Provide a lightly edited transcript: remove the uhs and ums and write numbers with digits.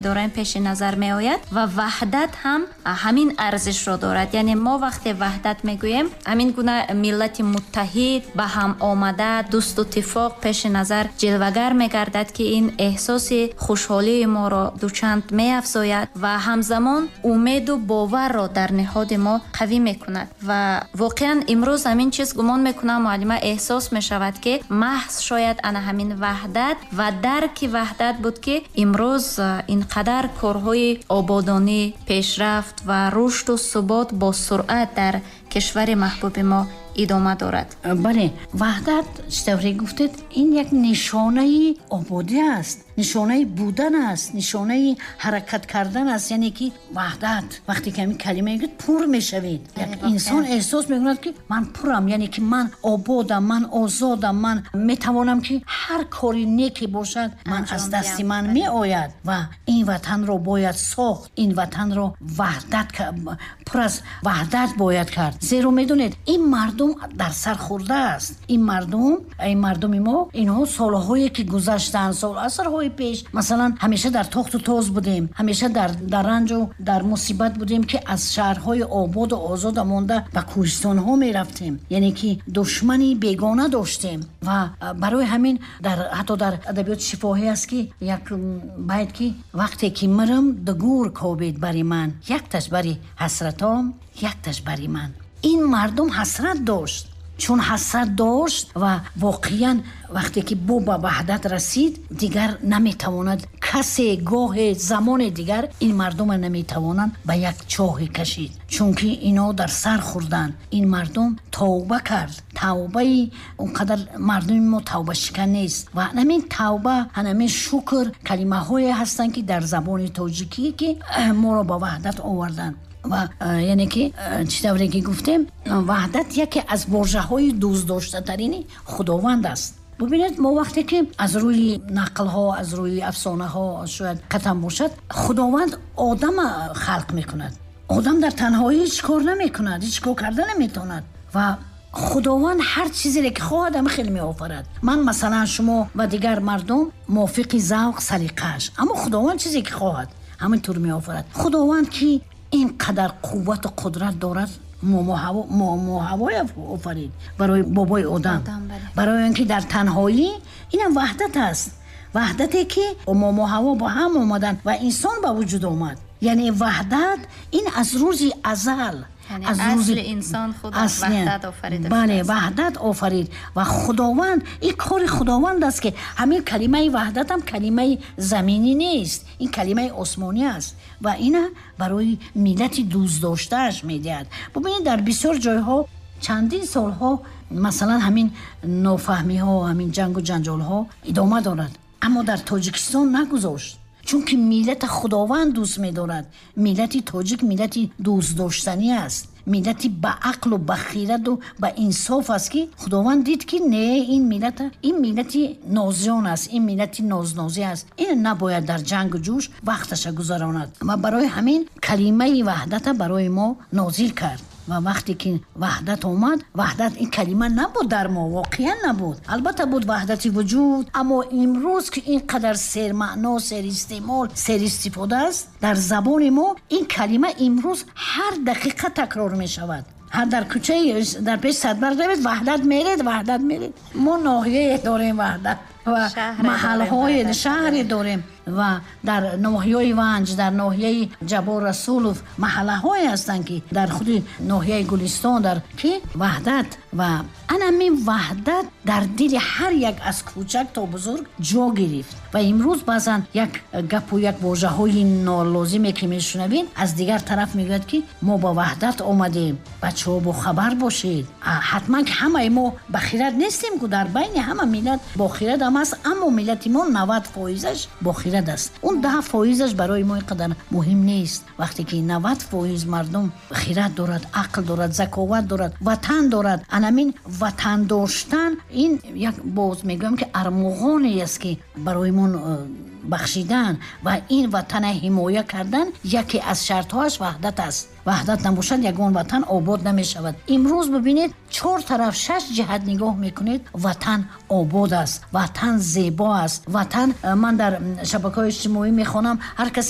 Дорем пеши назар меояд ва ваҳдат ҳам ҳамин арзишро дорад. Яъне мо вақте ваҳдат мегӯем, ҳамин гуна миллати муттаҳид, ба ҳам омада, дӯсту тифоқ пеши назар ҷилвагар мегардад, ки ин эҳсоси хушҳолии моро дучанд меафзояд ва ҳамзамон умеду боварро дар ниҳоди мо қавӣ мекунад. Ва воқеан имрӯз ҳамин чиз, гумон мекунам, муаллима, эҳсос мешавад, ки маҳз шояд ана ҳамин ваҳдат ва дарки ваҳдат буд, ки имрӯз ин қадар корҳои ободонӣ, пешрафт ва рушду субот бо суръат дар кишвари маҳбуби мо идома дорад. Бале, ваҳдат, чӣ тавре гуфтед, ин як нишонаи ободӣ аст, нишонаи будан аст, нишонаи ҳаракат кардан аст. Яъне ки ваҳдат, вақте ки ҳамин калима мегӯяд, пур мешавед. Як инсон эҳсос мекунад, ки ман пурам, яъне ки ман ободам, ман озодам, ман метавонам, ки ҳар кори неке бошад, ман аз дасти ман меояд ва ин ватанро бояд сохт, ин ватанро ваҳдат, пур аз ваҳдат бояд кард. Зеро медонед, ин мардум дар сар хӯрда аст. Ин мардум, ин мардуми мо, инҳо солҳое ки гузаштанд, сол асрҳои пеш, масалан, ҳамеша дар тохту тоз будем, ҳамеша дар ранҷу дар мусибат будем, ки аз шаҳрҳои ободу озода монда ба кӯҳистонҳо мерафтем, яъне ки душмани бегона доштем. Ва барои ҳамин дар ҳатто дар адабиёти шифоҳӣ аст, ки як байт, ки вақте ки мирам, ду гӯр кобед бари ман, якташ бари ҳасратом, якташ бари ман. Ин мардум ҳасрат дошт, чун ҳасрат дошт ва воқеан вақте ки бо ба ваҳдат расид, дигар наметавонад касе, гоҳе, замоне дигар ин мардума наметавонанд ба як чоҳе кашид, чунки ино дар сар хӯрданд. Ин мардум тавба кард. Тавбаи он қадар мардуми мо тавбашикан нест ва ҳамин тавба, ҳамин шукр калимаҳое ҳастанд, ки дар забони тоҷикӣ, ки моро ба ваҳдат оварданд. Ва яъне ки чӣ тавре ки гуфтем, ваҳдат яке аз вожаҳои дӯстдоштатарини Худованд аст. Бубинед, мо вақте ки аз рӯи нақлҳо, аз рӯи афсонаҳо, шояд қатам бошад, Худованд одама халқ мекунад. Одам дар танҳоӣ ҳеҷ кор намекунад, ҳеҷ кор карда наметавонад ва Худованд ҳар чизере ки хоҳад, ҳама хеле меофарад. Ман, масалан, шумо ва дигар мардум мувофиқи завқ, салиқааш, аммо Худованд чизе ки хоҳад, ҳамин тур меофарад. Худованд, ки ин қадар қуввату қудрат дорад, Момо Ҳавоя офарид барои бобои одам, барои он ки дар танҳоӣ, инам ваҳдат аст, ваҳдате ки Момо Ҳаво бо ҳам омаданд ва инсон ба вуҷуд омад. Яъне ваҳдат ин аз рӯзи азал, аз рӯзи инсон худ ваҳдат офарида. Бале, ваҳдат офарид ва Худованд, ин кори Худованд аст, ки ҳамин калимаи ваҳдат ҳам калимаи заминӣ нест, ин калимаи осмонӣ аст ва ина барои миллати дӯстдоштааш медиҳад. Бубинед, дар бисёр ҷойҳо чандин солҳо, масалан, ҳамин нофаҳмиҳо, ҳамин ҷангу ҷанҷолҳо идома дорад, аммо дар Тоҷикистон нагузошт, чунки миллата Худованд дӯст медорад. Миллати тоҷик миллати дӯстдоштанӣ аст, миллати ба ақлу ба хираду ба инсоф аст, ки Худованд дид, ки не, ин миллата, ин миллати нозиён аст, ин миллати нознозӣ аст, ин набояд дар ҷангу ҷӯш вақташа гузаронад ва барои ҳамин калимаи ваҳдата барои мо нозил кард. Ва вақте ки ваҳдат омад, ваҳдат ин калима набуд дар мо, воқеан набуд. Албатта, буд ваҳдати вуҷуд, аммо имрӯз ки ин қадар сермаъно, серистеъмол, серистифода аст дар забони мо, ин калима имрӯз ҳар дақиқа такрор мешавад. Ҳар дар кӯчаи дар пеш садбар равед, ваҳдат меред, ваҳдат меред. Мо ноҳияе дорем Ваҳдат ва маҳалҳое, шаҳре дорем ва дар ноҳияи Ванҷ, дар ноҳияи Ҷаббор Расулов маҳаллаҳое ҳастанд, ки дар худи ноҳияи Гулистон дар ки ваҳдат. Ва анамин ваҳдат дар дили ҳар як аз кӯчак то бузург ҷо гирифт. Ва имрӯз баъзан як гапу як вожаҳои нолозиме ки мешунавем, аз дигар тараф мегӯяд, ки мо ба ваҳдат омадем, бачаҳо бохабар бошед. Ҳатман ки ҳамаи мо ба хирад нестем, ку дар байни ҳама миллат бохирад ҳам аст, аммо миллати мо 90 фоизаш бохирад аст, он 10 фоизаш барои мо ин қадар муҳим нест. Вақте ки 90 фоиз мардум хирад дорад, ақл дорад, заковат дорад, ватан дорад, анамин ватан доштан ин як, боз мегӯям, ки армуғоне аст, ки барои мо бахшидан ва ин ватана ҳимоя кардан яке аз шартҳоаш ваҳдат аст. Ваҳдат набошад, ягон ватан обод намешавад. Имрӯз бибинед, чор тараф, шаш ҷиҳат нигоҳ мекунед, ватан обод аст, ватан зебо аст. Ватан, ман дар шабакаҳои иҷтимоӣ мехонам, ҳар касе